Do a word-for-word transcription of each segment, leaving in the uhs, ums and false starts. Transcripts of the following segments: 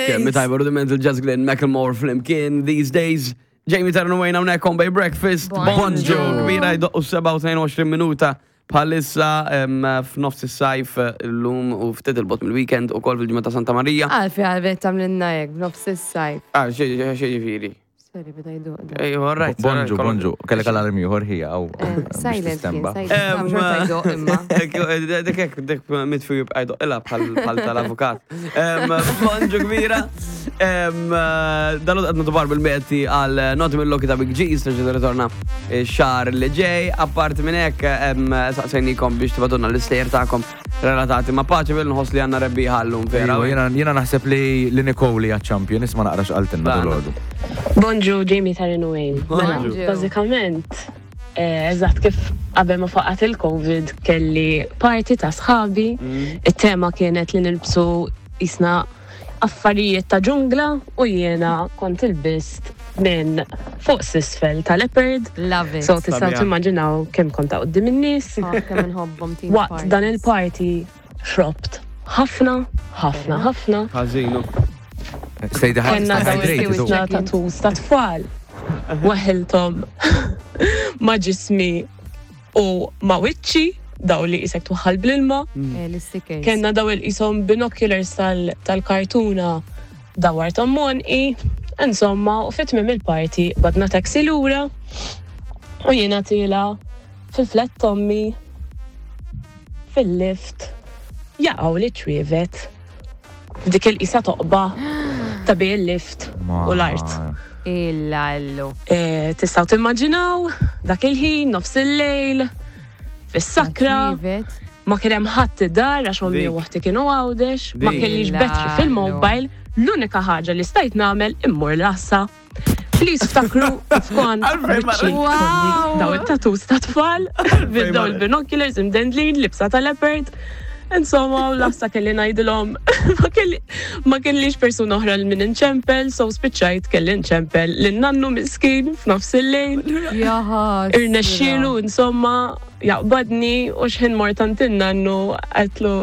Kemm tajba Rudimental, Jess Glynne, Macklemore flimkien "These Days". Jamie Tarun Wayne hawnhekk on Bay Breakfast. Bonġu. Bonġu, kbira, jdoqqu sebgħa u tnejn u għoxrin minuta bħalissa em, f'nofs is-sajf illum u ftit 'il bogħod mill-weekend u kol fil-ġimgħa ta' Santa Maria. Għalfejn għalfejn tagħmlilna hekk b'nofs is-sajf? Ah, xi xi ġifieri. Sorry, beda jdoq. Ej, all right. Bonġu, bonġu. Kellek alarm ieħor ħija għaw. Eh, Silent kien, silent. Em, Xorta jdoq imma. Dik hekk, dik mitfi jibqa' jdoq ilha bħal bħal tal-avukat. Em, Bonġu kbira. Em, Dalgħodu qed nagħtu bil-biljetti għal Noti mill-Loki ta' Big G, terġa' ritorna xahar li ġej. Apparti minn hekk, em, saqsejnikom biex tibagħtulna l-istejjer tagħkom relatati ma' Paceville. Nħoss li għandna rebbieħa llum vera. Ejwa, Jiena jiena naħseb li li Nicole hija champion, isma' naqra x'qaltilna Dana. dalgħodu. Bonġu, Jamie Taryn Wayne. Mela, Bonġu. bażikament, eh, eżatt kif qabel ma faqat il-Covid kelli party ta' sħabi. Il-tema kienet li nilbsu jisna affarijiet ta' ġungla u jiena kont ilbist minn fuq s'isfel ta' leopard. Love it. So tistgħu Sabiħa. timmaġinaw kemm kont ta' quddiem in-nies. Oh, kemm inħobbhom team Waqt parties. dan il-party xrobt ħafna, ħafna, ħafna. Ħażinu. Stay Kenna dawn hydrated. il-isna tattoos ta' tfal. Waħiltom ma' ġismi u ma' wiċċi, daw li jisek tuħal bl-ilma. Eh, L-stickers. Kenna daw il-jisom binoculars tal- tal-kartuna dawartom monqi. Insomma, u fit-tmiem il-party qbadna taxi lura u jiena tiela' fil-flat t'ommi fil-lift jaqgħu li ċwievet f'dik il-qisa toqba ta' bejn il-lift u l-art. Illallu. Eh, Tistgħu timmaġinaw dak il-ħin, nofs il-lejl, fis-sakra, Ċwievet. ma kien hemm ħadd id-dar għax ommi Dik. u oħti kienu Għawdex, ma Dik. kellix battery fil-mobile, l-unika ħaġa li stajt nagħmel immur l-għassa. Please ftakru f'kont Għalfejn ma- wiċċi Wow! daw it-tattoos ta' tfal, bil daw il-binoculars imdendlin, libsa ta' leopard. Insomma, u l-għassa kelli ngħidilhom, ma kelli- ma kellix persuna oħra l min inċempel, so spiċċajt kelli nċempel lin-nannu miskin f'nofs il-lejl. Jaha. Irnexxielu, insomma, jaqbadni u xħin mort għand in-nannu għedtlu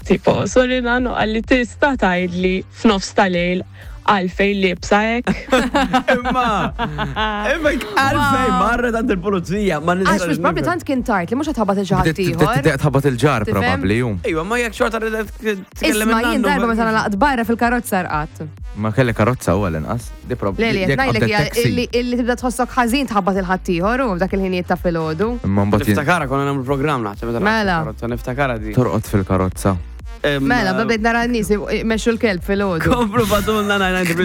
tipo, "Sorry nannu," qalli, "Tista' tgħidli f'nofs tal-lejl għalfejn liebsa hekk?" Imma, imma għalfejn marret għand il-pulizija, ma Għax nistax. mhux probably tant kien tard li mhux ħatħabat il ħadd ieħor. Tħabbat il-ġar Tifhem? probabli jum. Ejwa, ma jekk xorta ridet tkellem Isma' jien il-nannu, darba ma- meta nalaqt barra fil-karozza rqadt. Ma kelli karozza u għal-inqas. Di prob. Le li qed jekk ngħidlek qabdet hija taxi. illi illi tibda tħossok ħażin tħabbat il-ħadd ieħor u f'dak il-ħinijiet ta' filgħodu. Imma mbagħad jien Niftakara konna nagħmlu programm naħseb meta Mela. nagħmlu karozza, niftakara di. torqod fil-karozza. Em, Mela, bdejt nara n-nies imexxu l-kelb filgħodu. Komplu ibagħtulna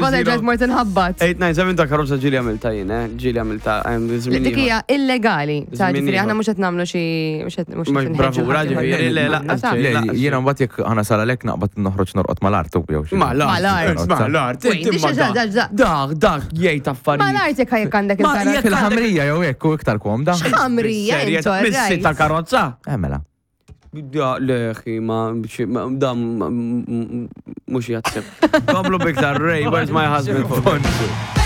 Bada ġajt mort inħabbat. tnejn tnejn seba ta' karozza ġieli għamilta jien, eh? Ġieli għamilta. em, żmien Dik ieħor. hija illegali. Ta' Żmien ġifieri aħna ieħor. mhux qed nagħmlu xi mhux qed mhux Mhux qed bravura, inħeġġu ħadd ġifieri, le, ieħor. laqqas Ta' xejn. Le, laqas jiena mbagħad jekk ħana sal għalek naqbad noħroġ norqod mal-art u jew xi. Ma l-art, Mal-art. ma l-art. Wait, inti ma dixa- dak- da- Dak, dak, jgħid affarijiet. Ma l-art jekk jekk għandek Ma il-karozza. jekk- Fil-ħamrija jew hekk u iktar komda. Ħamrija, Serjet, intu, Missi right. ta' karozza. Eh, mela. Ja, leħi, ma, xi- ma, dam, mux jatsib. Komplu biktar, Ray, "Where's My Husband?" Bonġu.